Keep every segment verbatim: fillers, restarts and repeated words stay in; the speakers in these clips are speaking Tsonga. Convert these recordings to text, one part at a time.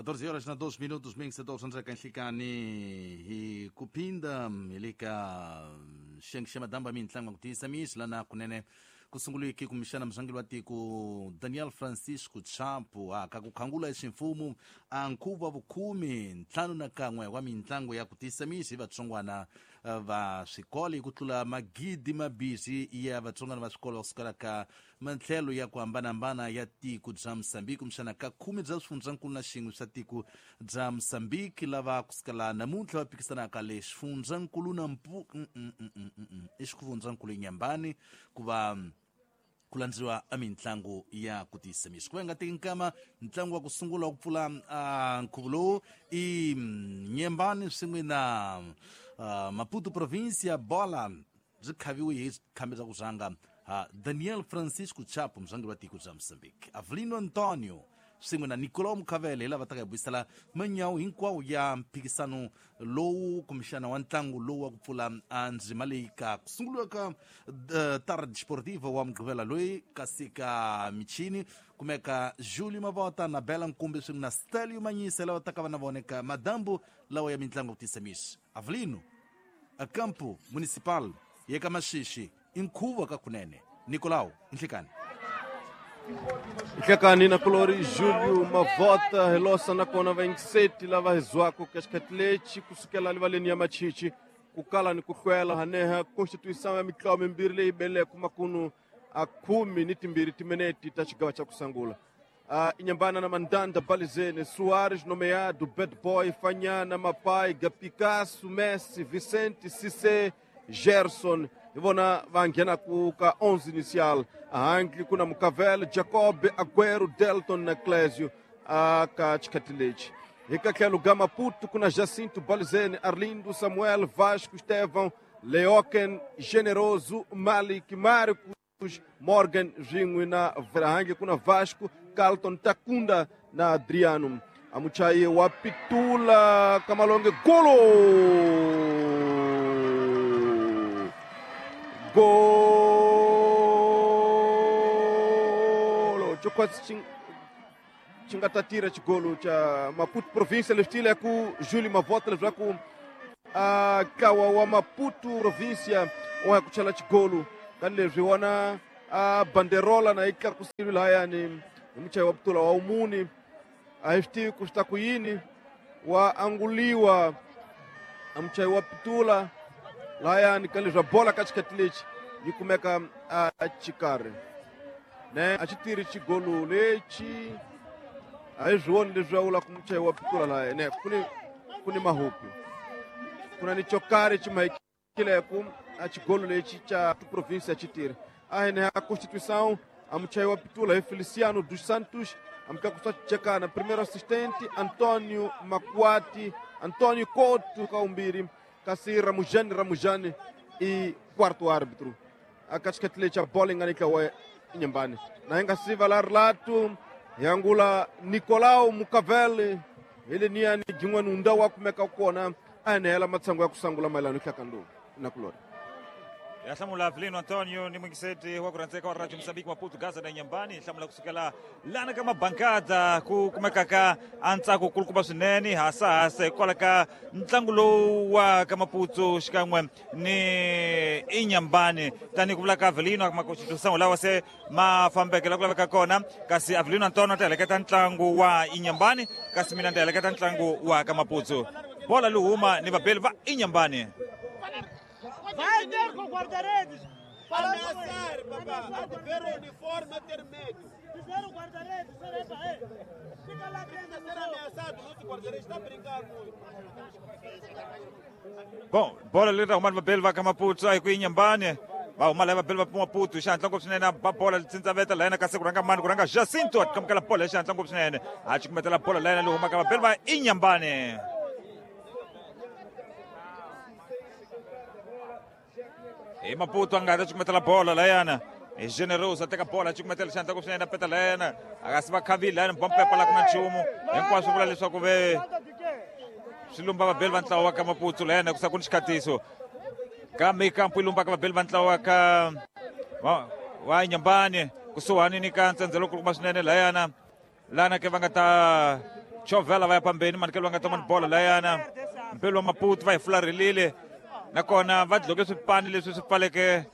catorze horas na doze minutos, mil setecentos kanhlikani hi kuphinda hi le ka xiyenge xa madamba mintlangu ku tiyisa misi lana kunene ku sunguliki kumbexana murhangeri wa tiko Daniel Francisco Chapo a ka ku khangula ximfumo a nkhuvo wa vukhume ntlhanu na kan'we wa mitlangu ya ku tiyisa misi hi vatsongwana va swikolo hi ku tlula magidi mabisi ya vatsongwana va swikolo kusukela ka matlhelo ya ku hambanahambana ya tiko bya Mozambique, kumbexana ka khume bya swifundzankulu na xin'we swa tiko bya Mozambique, lava kusukela namuntlha va phikisanaka le xifundzankulu na mpu i xifundzankulu Inhambane ku va ku landziwa a mitlangu ya ku tiyisa misi. Ku va nga teki nkama, ntlangu wa ku sungula wa ku pfula nkhuvo lowu i Inhambane swin'we na uh, Maputo Provincia. Bola byi khaviwe hi khambi bya ku rhanga ha Daniel Francisco Chapo, murhangeri wa tiko bya Mozambique, Avelino Antonio swin'we na Nicolau Mukhavele hi lava taka hi buyisela manyawu hinkwawo ya mphikisano lowu kumbexana wa ntlangu lowu wa ku pfula ndzima leyi ka ku sunguliwa ka uh, Tarde Desportiva wa Mugqivela loyi. Kasi ka michini kumeka Julio Mavota na Bela Nkumbi swin'we na Stelio Manyisa lava taka va na vona eka madambu lawa ya mitlangu ku tisa misi. Avelino, a campo municipal ya ka Maxixi i nkhuvo ka kunene. Nicolau, nhlikani. Nhlekani na kulori Julio Mavota, helosa nakona vaingiseti lava hizwako ka xikhathi lexi kusukela livaleni ya Machichi ku kala ni ku hlwela haneha constituição ya mitlawa mimbirhi leyi beleko makunu a khume ni timbirhi timinete ta xigava xa ku sungula. uh, Inhambane na Mandanda, Balizene, Soares nomeado, Bad Boy, Fanhana, Mapaiga, Picasso, Messi, Vicente, Cissé, Gerson hi vona va nghenaku ka onze inicial. Ahankli ku na Mukavel, Jacob, Aguero, Delton na Clésio ka xikhathi lexi. Hi ka tlhelo ga Maputo ku na Jacinto, Balizene, Arlindo, Samuel, Vasco, Estevão, Leoken, Generoso, Malik, Marcos, Morgan swin'we na Verhange. Ku na Vasco, Carlton, Takunda na Adriano. Amuchayi wa pitula Kamalonge, golo! Golo! Chokwasi xingatatira xigolo cha Maputo Província lexitile ku Júlio Mavota leswaku a ntlawa wa Maputo Província wa ya ku chela xigolo ka leswi wona a banderola na yi tlakusiwe lahayani hi muchayi wa putula wa umuni. A hi swi tivi ku swi ta ku yini wa anguliwa a muchayi wa pitula lahayani ka leswi bola ka xikhathi lexi yi kumeka a xikarhi ne a xi tirhi xigolo lexi. A hi swi voni leswi a vula ku muchayi wa pitula lahaya ne ku ni ku ni mahuku ku na ni xo karhi xi mahikileku a xigolo lexi xa província xi tirhi a hene a constituição. A muchayi wa pitula hi Feliciano dos Santos, amkakusa chekana primeiro assistente Antônio Macuati, Antônio Couto Kaumbiri, kasi Ramujani Ramujani e quarto árbitro. A katikati a bola inganika wa Inhambane. Na inga siva la relato yangula Nicolau Mukavele ele niani jin'wana unda wa kumeka kona anela matsango ya kusangula maelano hlakandu na kulori. Ya hlamula Avelino Antonio ni mwingiseti wa kurandzeka wa Radio Mozambique Maputo Gaza na Inhambane. Hlamula kusukela lana ka mabankada ku kumeka ka antsako kulukumba swinene hasa hasa hikwalaho ka ntlangu lowu wa ka Maputo xikan'we ni Inhambane. Tanihi ku vula ka Avelino makoxitusango lawa se ma fambeke la ku laveka kona, kasi Avelino Antonio a ta heleketa ntlangu wa Inhambane, kasi mina ni ta heleketa ntlangu wa ka Maputo. Bola luhuma ni vabeli va Inhambane. Vai ter com o guarda-redes! Ameaçar, papá! Há de ver o uniforme a ter medo! Fizeram o guarda-redes, fica lá dentro! Ser ameaçado, nosso guarda-redes está a brincar muito! Bom, bola ali arrumando vabeli va ka Maputo aí ku Inhambane. Va huma lava vabeli va Maputo xihatla ngopfu swinene ba bola tsintsa la yena kasi ku rhanga mani ku rhanga Jacinto a kamukela bola hi xihatla ngopfu swinene a cukumetela bola la yena leyi humaka vabeli va Inhambane. Hi Maputo a nga ta cukumetela bola layana hi Generoso a teka bola a cukumetela xandla ku swinene a peta layana a nga si va khavile layana bompepa la ku na nchumu hinkwaswo vula leswaku ve swi lumba vabeli va ntlawa wa ka Maputo layana ku sa ku ni xikhatiso kambe kampu yi lumbaka vabeli va ntlawa wa ka wa Inhambane kusuhani ni ka ntsendzelo kulukumba swinene layana. Lana ke va nga ta chovhela va ya pambeni manikelo va nga ta mani bola layana mbelo wa Maputo va hi fularhelile nakona va dloke swipani leswi swi pfaleke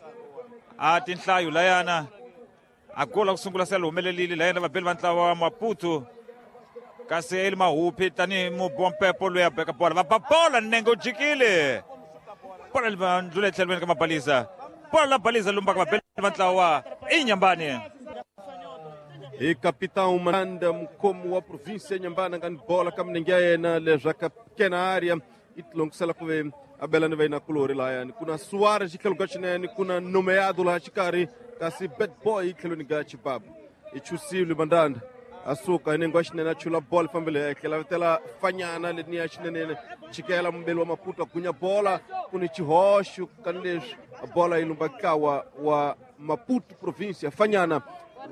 a tinhlayo layana a gola ku sungula se humelelile layana vabeli va ntlawa wa Maputo kasi eli Mahupi tanihi mubompepo loyi a beka bola va ba bola nenge u jikile bola li va ndlula etlhelweni ka Mabalisa bola la Balisa lumbaka vabeli va ntlawa wa Inhambane. E capitão Manda mukhomi wa província Inhambane nga ni bola ka milenge ya yena leswaku pequena área e tilongisela ku ve abelani va yina kulori layani ku na Suarez tlhelo ka xinene ku na Nomeado laha xikarhi kasi Bad Boy tlhelweni ka Chibabu i chusile Mandanda a suka hi nenge wa xinene a chula bola fambele etlhela vitela Fanyana leniya xinene chikela mumbeli wa Maputo a gunya bola ku ni xihoxo kani leswi bola yi lumba ntlawa wa Maputo província Fanyana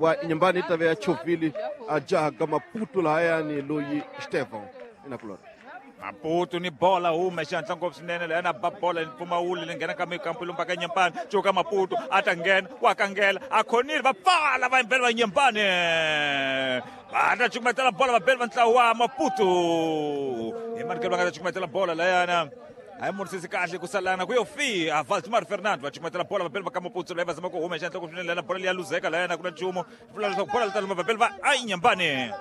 wa Inhambane yi ta ve ya chovhile a jaha ka Maputo lahayani loyi Estevão inakulora Maputo ni bola hume xihatla ngopfu swinene layana ba bola ni mpfumawulo leyi nghena ka mikampu lumba ka Inhambane cuka Maputo a ta nghena wa kangela a khonile va pfala va yimbela va Inhambane va ta cukumetela bola vabeli va ntlawa wa Maputo hi manikelo va nga ta cukumetela bola layana hayi murisisi kahle ku salana ku yo fi a Valdemar Fernando va cukumetela bola vabeli va ka Maputo leyi va zama ku huma xihatla ngopfu swinene layana bola leyi ya luzeka layana ku na nchumu vula leswaku bola li ta luma vabeli va a Inhambane.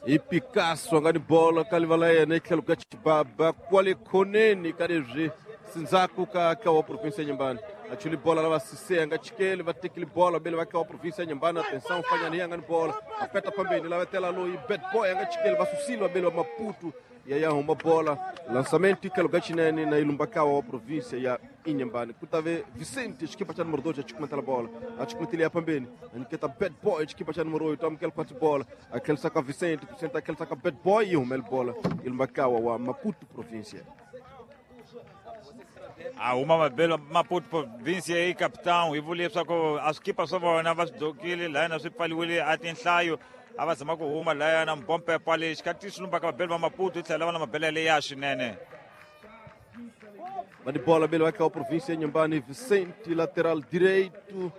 E Picasso nga ni bola ka livala yena etlhelo ka Chibaba kwale khoneni ka leswi sindzhaku ka ka wa província Inhambane a chuli bola lava Cissé nga chikeli va tekile bola bele va ka wa província Inhambane atenção Fanyana ya nga ni bola a peta pambeni lava tela loyi Bad Boy nga chikeli va susile va bele va Maputo ya ya huma bola lançamento tlhelo ka xinene na ilumba ka wa província ya Inhambane ku ta ve Vicente xikipa xa número dois a chukumetela bola a chukumetele ya pambeni a nyiketa Bad Boy xikipa xa número oito amukela kwatsi bola a tlhelisa ka Vicente Vicente a tlhelisa ka Bad Boy yi humele bola ilumba ka wa Maputo província. A huma mabelo Maputo província yi capitão hi vule leswaku a swikipa swa vona va swi dokile layana swi pfaliwile a tinhlayo a va zama ku huma layana mbompepa lexi ka ti swi lumbaka vabeli va Maputo yi tlhela va na mabele leya swinene. Va ni bola bele va ka wa província Inhambane Vicente lateral direito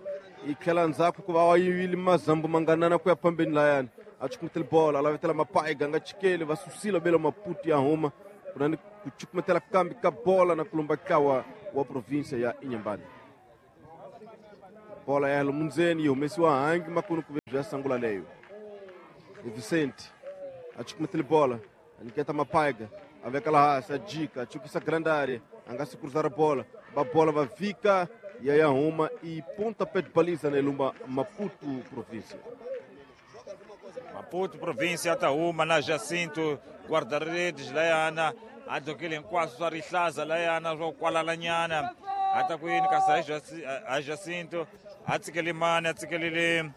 yi tlhela ndzhaku ku va wa yivile mazambu manganana ku ya phambeni layani a chukumetela bola a lavetela Mapaiga nga chikeli va susile bele Maputo ya huma ku na ni ku chukumetela kambi ka bola na ku lumba ka wa província ya Inhambane. Bola ya lomundzeni yi humesiwa hangi makunu ku ve bya sangula leyo. Vicente a chukumetela bola a nyiketa Mapaiga a veka laha hansi a jika a chukisa grande área a nga si cruzar a bola va bola va vika ya ya huma e pontapé de baliza na ilumba Maputo província. Maputo província ta huma na Jacinto guarda-redes layana a dokile hinkwaswo swa rihlaza layana swo kwalalanyana a ta ku yini kasi a Jacinto a tsikele mani a tsikelele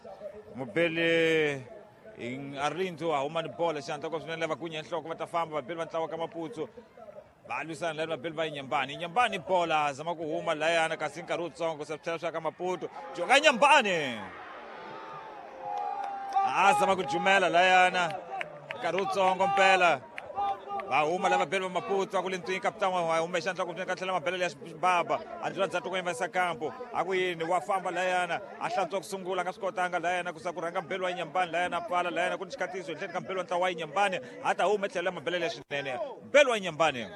mubeli Arlindo a huma ni bola xihatla ngopfu swinene lava gunya nhloko va ta famba vabeli va ntlawa ka Maputo va lwisana lani vabeli va Inhambane Inhambane bola zama ku huma layana kasi nkarhi wutsongo se swi tlhela swa ka Maputo joka Inhambane a zama ku jumela layana nkarhi wutsongo mpela va huma lava beli va Maputo a ku le ntwini capitão wa huma xandla ku ka tlhela mabele ya Xibaba a ndlula ndzhaku ku yimisa kampo a ku yini wa famba layana a hlantswa ku sungula a nga swi kotanga layana ku sa ku rhanga mbeli wa Inhambane layana a pfala layana ku ni xikatiso ehenhleni ka mbeli wa ntlawa wa Inhambane a ta huma tlhela mabele ya xinene mbeli wa Inhambane.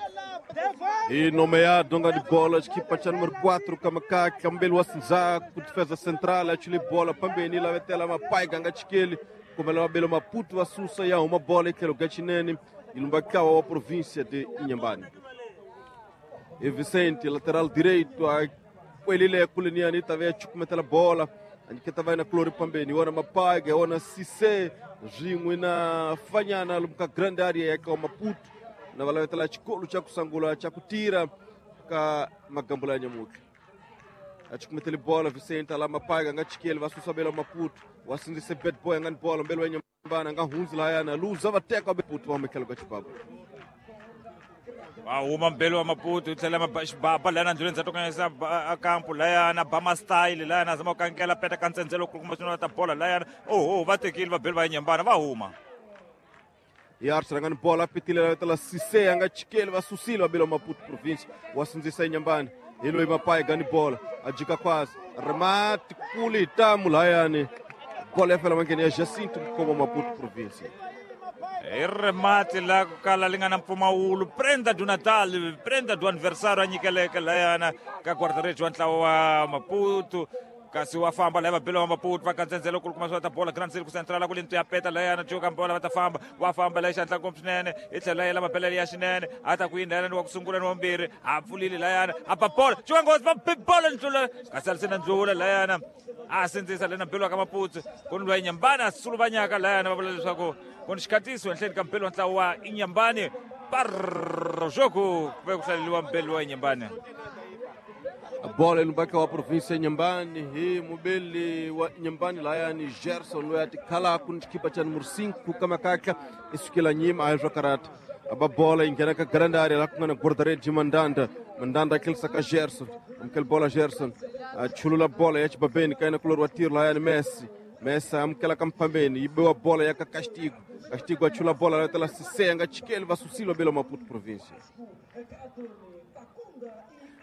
E nomeado nga di bola xikipa xa número quatro Kamakaka mbeli wa Sinzaku defesa central a chule bola pambeni lavetela Mapaiga nga chikeli kumela mabele Maputo va susa ya huma bola etlhelo ka xinene ilumba kawa wa província de Inhambane. E Vicente lateral direito a kwelile kuleniani tave chukumetela bola aniketa vai na Clori pambeni wana Mapaiga wana Cissé rin'we na Fanyana lumka grande área ya ka Maputo na valavetela xikolo xa ku sangula xa ku tira ka magambula ya nyamutlha a chukumetele bola Vicente ala Mapaiga nga chikeli va susa bela Maputo wa sindzise Bad Boy nga ni bola mbeli wa Inhambane nga hundzi layana luza va teka Maputo va humekela ka Chibaba. Va huma mbeli wa Maputo yi tlhela Xibaba layana ndluleni ndzhaku ka a kampo layana ba style layana zama ku kankela peta ka ntsendzelo ku kuma swinene ta bola layana oho va tekile vabeli va Inhambane va huma. Yarch nga ni bola pitile lavetela Cissé nga chikeli va susile va bela Maputo província wa sindzisa Inhambane hi loyi Mapaiga ni bola a jika kwasi remate kuli tamu layani Bola ya fela mangeni ya Jacinto mukoma Maputo província. I remate la ku kala li nga na mpfumawulo prenda do Natal, prenda do aniversário a nyikeleke layana ka guarda-redes wa ntlawa wa Maputo. Kasi wa famba laya vabelo wa Maputo va katsendzela ku kuma swa ta bola Grand Circle Central ku lintu ya peta layana joka bola va ta famba wa famba laya xandla ngopfu swinene i tlhela yela mabelele ya xinene a ta ku yini layana wa ku sungula ni wa mbirhi a pfulile layana a ba bola joka nghozi va bola ndlula kasi a sina ndlula layana a sindzisa lena mbelo ka Maputo ku ni lwa Inyambani a suluvanyaka layana va vula leswaku ku ni xikhatiso enhleni ka mbelo wa ntlawa wa Inyambani par jogo ku ve ku hlaleliwa mbelo wa Inyambani. Bola ilumbaka wa província Inhambane hi mubeli wa Inhambane layani Gerson loyi a tikhalaku ni xikipa xa numero cinco ka makaka i sukela nyima a hi swa karata aba bola yi nghena ka grande area laha ku nga na guarda-redes Mandanda. Mandanda a tlherisa ka Gerson, amukela bola Gerson a chulula bola ya xibabeni ka yena kulori wa tiro layani Messi. Messi amukela ka mphambeni yi biwa bola ya ka Castigo. Castigo a chula bola la tela Cissé a nga chikeli va susile belo Maputo província.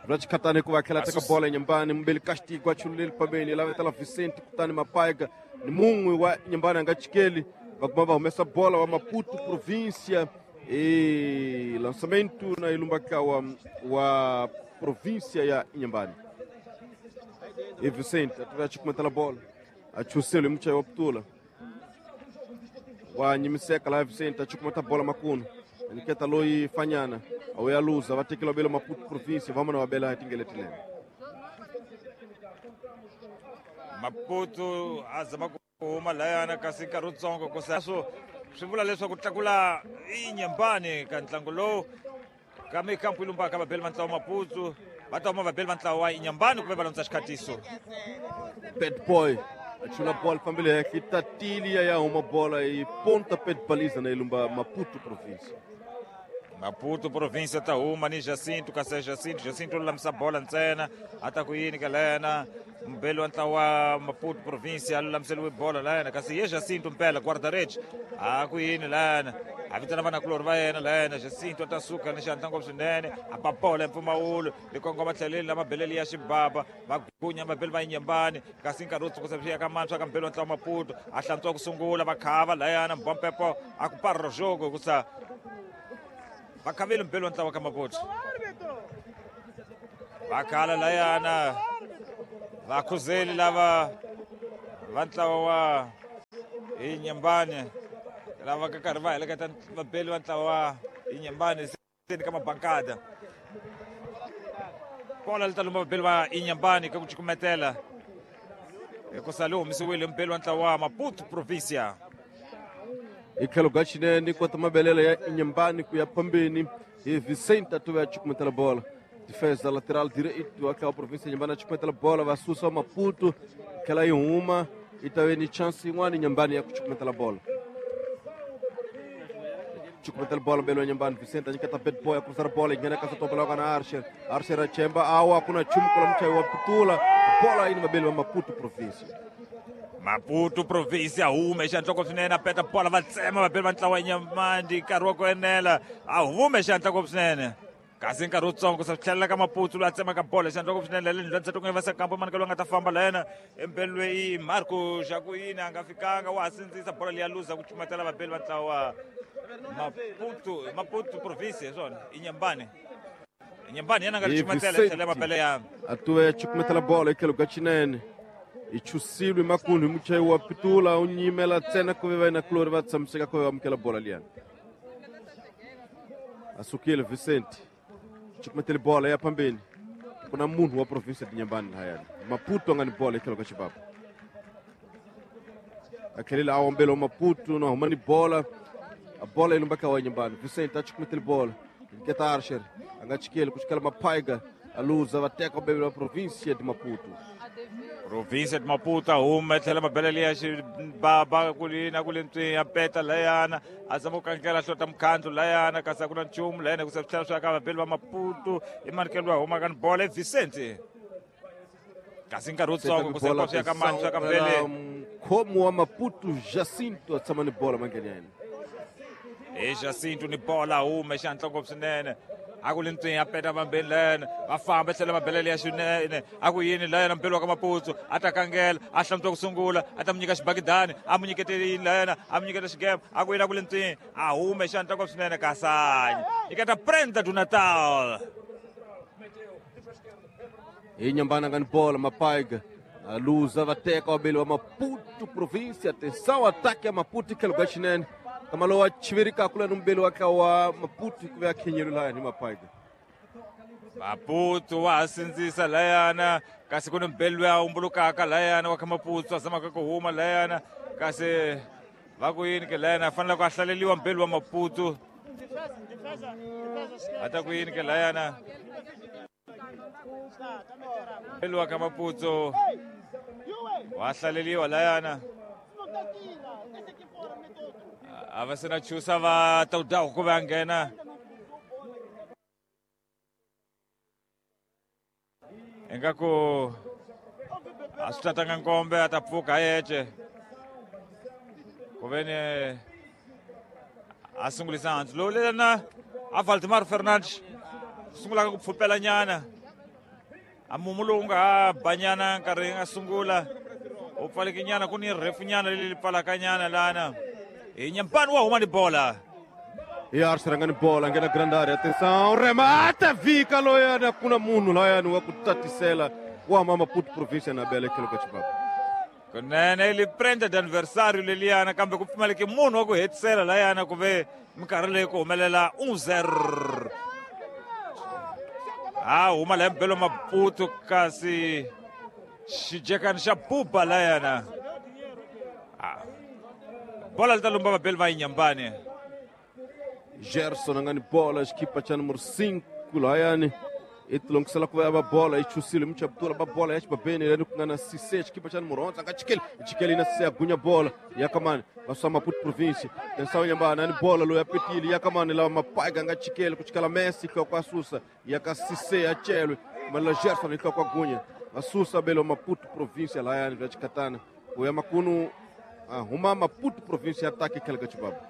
Rachikatane hikuva tlhela teka bola Inhambane mubeli Castigo a chululeli pambeni lava tela Vicente kutani Mapaiga ni mun'we wa Inhambane a nga chikeli va kuma va humesa bola wa Maputo província e lançamento na ilumbaka wa, wa província ya Inhambane. E Vicente a chikumetela bola a chuselo hi muchayi wa putula wa nyimiseka laha Vicente a chikumeta bola makunu niketa loyi fanyana awu ya luza va tekela belo Maputo província va mona va bela hi tingeletilene. Maputo a zama ku huma layana kasi nkarhi wutsongo ku swo swi vula leswaku tlakula Inhambane ka ntlangu lowu ka mikampu ilumbaka vabeli va ntlawa Maputo va ta huma vabeli va ntlawa wa Inhambane ku ve va landza xikhatiso. Bad boy a chula bola fambile henhla yi tatile ya ya huma bola yi ponta pé de baliza na ilumba Maputo província. Maputo província ta huma ni Jacinto kasi Jacinto Jacinto lulamisa bola ntsena a ta ku yini ka layana mbelo wa ntlawa Maputo província a lulamiseliwe bola layana kasi ye Jacinto mpela guarda-redes a ku yini layana a vitana vanakulori va yena layana Jacinto a ta suka ni xandla ngopfu swinene a ba bola mpfumawulo li kongoma tlheleni la mabeleli ya xibaba va gunya mabeli va Inhambane kasi nkarhi wo tsukusa swi ya ka mantshwa ka mbelo wa ntlawa Maputo a hlantswa ku sungula va khava layana mbompepo a ku parro jogo hikusa va khavile mbelo wa ntlawa ka Maputo va khala layana vakhuzeli lava va ntlawa wa Inhambane lava ka karhi va heleketa vabeli va ntlawa wa Inhambane seni ka mabankada bola li ta lumba vabeli va Inhambane ka ku cukumetela hikusa li humesiwile mbeli wa ntlawa wa Maputo província. Hi tlhelo ka xinene kota mabelelo ya Inhambane ku ya phambeni hi Vicente a tuve a cukumetela bola. Defesa lateral direito wa tlhela província Inhambane a cukumetela bola va susa Maputo tlhela yi huma yi ta ve ni chance yin'wana Inhambane ya ku cukumetela bola. Cukumetela bola mbelo ya Inhambane Vicente a nyiketa bad boy a cruzar bola yi nghena ka satopa lawa ka na Archer. Archer a chemba awa ku na nchumu kula muchayi wa putula bola yi ni mabeli wa Maputo província. Maputo província hume xandla swinene a peta bola va tsema vabeli va ntlawa Inhambane nkarhi wa ku enela a hume xandla swinene kasi nkarhi wutsongo sa tlhelela ka Maputo loyi a tsemaka bola xandla swinene le ndlwani ku nga va kampo mani ka loyi a nga ta famba layena embeli loyi Marco Jacuini a nga fikanga wa ha sindzisa bola leyi ya luza ku cumatela vabeli va ntlawa Maputo Maputo província hi swona Inhambane Inhambane yena a nga ri cumatela tlhela mabele ya a tuve ya cukumetela bola hi tlhelo ka xinene i chusilwe makundu hi muchayi wa pitula u nyimela ntsena ku ve va yena kulori va tshamiseka ku ve va amukela bola liyani. A sukile Vicente cukumetele bola ya phambeni ku na munhu wa província de Inhambane lahayani Maputo a nga ni bola hi tlhelo ka xibaba a tlhelile a ombela wa Maputo na huma ni bola a bola yi lumbaka wa Inhambane Vicente a cukumetele bola nketa Archer a nga chikeli ku chikela Mapaiga a luza va teka bebele wa província de Maputo. Província de Maputo a huma yi tlhela mabelele ya xibaba ku li na ku le ntswini ya peta layana a zama ku kankela hlota mukhandlu layana kasi a ku na nchumu layana ku se swi tlhela swi ya ka vabeli va Maputo i manikelo loyi a humaka ni bola i Vicente kasi nkarhi wutsongo ku se swi ya ka mani swi ya ka mbele mukhomi wa Maputo Jacinto a tshama ni bola mangheni ya yena. Hi Jacinto ni bola hume xandla ngopfu swinene A ku le ntswini a peta vambeni layana va famba tlhela va belela ya xinene a ku yini layana mbelo wa ka Maputsu a ta kangela a hlantswa ku sungula a ta mu nyika xibakidani a mu nyikete yini layana a mu nyiketa xigema a ku yini a ku le ntswini a hume xandla kwa swinene kasanyi nyiketa Prenda do Natal hi Nyambana nga ni bola Mapaiga a luza va teka wabeli wa Maputo província. Atenção, ataque ya Maputo tlhelo ka xinene kama lowu a chiverikaka lani mubeli wa wa Maputo ku ve a khenyelo laya ni Mapaiga. Maputo wa ha sindzisa layana kasi ku ni mbeli loyi a humbulukaka layana wa kha Maputo a zamaka ku huma layana kasi va ku yini ke layana a fanele ku a hlaleliwa mbeli wa Maputo a ta ku yini ke layana mbeli wa kha Maputo wa hlaleliwa layana a va se na chusa va ta ku va nghena ingaku a swi tatanga nkombe a ta pfuka yece ku ve ni a sungulisa hansi lowu lena a Valdemar Fernandes sungulaka ku pfupela nyana a mumu lowu nga ha banyana nkarhi nga sungula u pfaleke nyana ku ni refu nyana leyi pfalaka nyana lana hi Nyampani wa huma ni bola. E Arce nga ni bola nghena grande área. Atenção, remata vika loyana kuna munhu layani wa ku tatisela wa huma Maputo província na bela tlhelo ka xibaba. Kunene li prenda d'anniversario leliyana kambe ku pfumaleke munhu wa ku hetisela layana ku ve minkarhi leyi ku humelela un zero. A huma la mbelo Maputo kasi xijekani xa buba layana. Bola li ta lumba vabeli va Inyambani. Gerson nga ni bola xikipa xa número cinco layani i tilongisela ku va bola i chusile muchaptura ba bola ya xibabeni lani ku nga na Cissé xikipa xa número onze nga chikeli chikeli na Cissé agunya bola ya kamani va swa Maputo província. Atenção Nyambana ni bola loyi a petile ya kamani lava Mapaiga nga chikeli ku chikela Messi ka kwa susa ya ka Cissé ya chelwe mala Gerson ka kwa gunya va susa belo Maputo província layani bya chikatana ku ya makunu a huma Maputo província ataque tlhelo ka xibaba.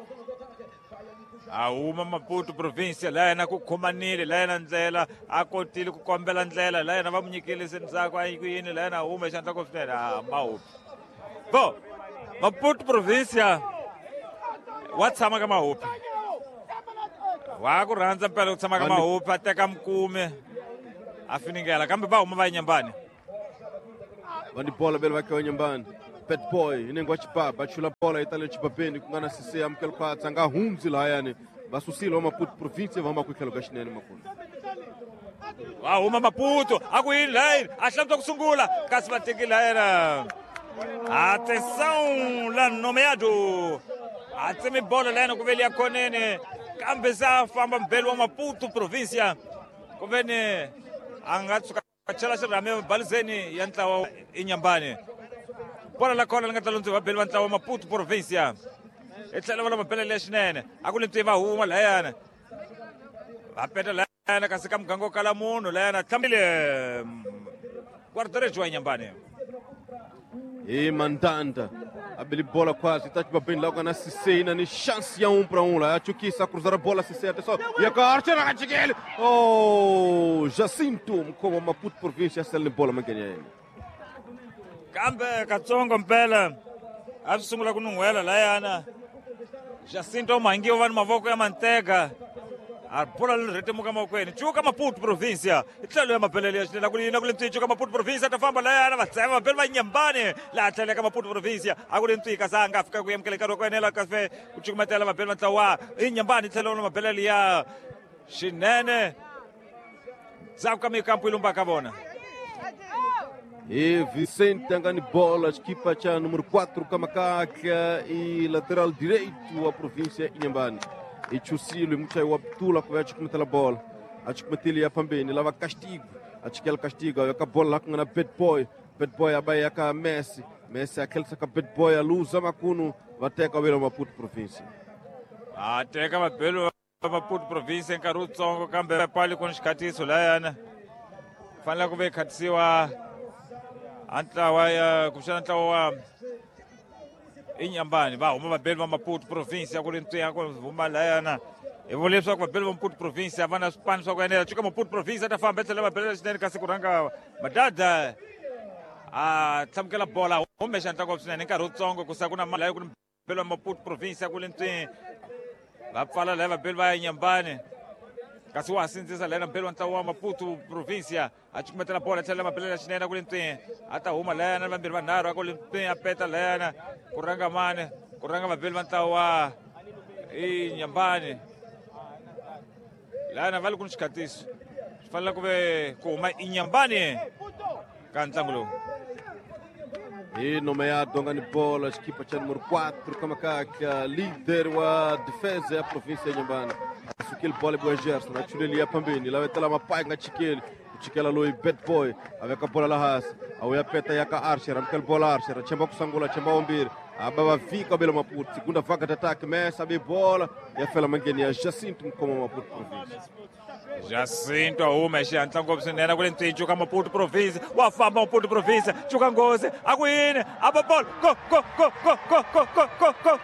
A huma Maputo província layana ku khomanile layana ndlela a kotile ku kombela ndlela layana va mu nyikile se ndzhaku a yi ku yini layana a huma xandla ko swinene a Mahupi bo Maputo província wa tshama ka Mahupi wa ku rhandza mpela ku tshama ka Mahupi a teka mukumi a finingela kambe va huma va Inyambani va ni bola vele va ka Inyambani. Bad boy inengo xibaba chula bola itale xibabeni ku nga na Cissé amukela khwatsa nga hundzi layani va susile wa Maputo província va huma ku tlhelo ka xinene makulu. Va huma Maputo a ku yini layini a hlantswa ku sungula kasi va teki layana. Atenção la nomeado a tsemi bola layana ku veli ya khonene kambe se a famba mbeli wa Maputo província ku ve ni a nga tshuka chela xirhami balizeni ya ntlawa Inyambani. Bola la khona li nga ta lundziwa vabeli va ntlawa Maputo província i tlhela va la mabelele ya xinene a ku le ntwi va huma layana va peta layana kasi ka muganga wo kala munhu layana tlhambile guarda-redes wa Inyambani. Hi Mandanda a beli bola quase tá xibabeni la ku nga na Cissé na ni chance ya um para um lá a chukisa cruzar a bola Cissé atenção ya ka Archer a chikele oh Jacinto mkhoma wa Maputo província sele ni bola mangenya yena kambe katsongo mpela a swi sungula ku nun'hwela layana Jacinto Mhangiwa va ni mavoko ya manteka a bola leri rhetemuka mavokweni cuka Maputo província i tlhelo ya mabelele ya xinene ku yini ku le ntswi cuka Maputo província ta famba layana va tsema vabeli va Nyambani laha tlhelo ka Maputo província a ku le ntswi kasi a nga fika ku amukela nkarhi wa ku enela kasi ku cukumetela vabeli va ntlawa i Nyambani tlhelo na mabelele ya xinene ndzhaku ka mikampu yi lumbaka vona. E Vicente nga ni bola xikipa xa número quatro Kamakaka e lateral direito a província Inhambane. E chusilo muchayi wa Ptula ku va chukumetela bola a chukumetile ya fambeni lava castigo a chikela castigo ya ka bola la ku nga na Bad Boy Bad Boy a ba ya ka Messi Messi a khelisa ka Bad Boy a luza makunu va teka velo Maputo província. A teka vabelo va Maputo província nkarhi wutsongo kambe pali ku ni xikhatiso layana fanele ku ve khatisiwa a ntlawa ya kumbexana ntlawa wa Inyambani va huma vabeli va Maputo província ku ri ntswiya ku huma layana Hi vula leswaku vabeli va Maputo province a va na swipano swa ku enela. Cuka Maputo province a ta famba etlhela va belela swinene, kasi ku rhanga Madada a tlhamukela bola hume xandla ngopfu swinene nkarhi wutsongo ku sa ku na mali ku ni beli wa Maputo province ku le ntswini va pfala laha vabeli va ya Nyambani, kasi wa ha sindzisa laha na mbeli wa ntlawa wa Maputo province a cukumetela bola tlhela mabelela xinene ku le ntswini a ta huma lahayana vambirhi vanharhu a ku le ntswini a peta lahayana ku rhanga mani ku rhanga vabeli va ntlawa wa i Nyambani lahayana va le ku ni xikhatiso swi fanele ku ve ku huma i Nyambani ka ntlangu lowu. E nomeado ngani bola equipa cha número quatro Kamakaka, líder wa defesa ya província ya Nyambani. Sukile bola boa Gerson, achuleli ya pambeni, la vetela mapai nga chikeli, chikela loi bad boy, aveka bola la has, awya peta yaka Archer, amkel bola Archer, chemba kusangula, chemba ombiri, ababa vika bela Maputo, segunda vaga de ataque, Messa abe bola, ya fela mangeni ya Jacinto como Maputo província. Jacinto a huma hi xihatla ngopfu swinene ku le ntswini cuka Maputo province wa famba Maputo province cuka nghozi a ku yini a ba bolo go go go go go go go go go.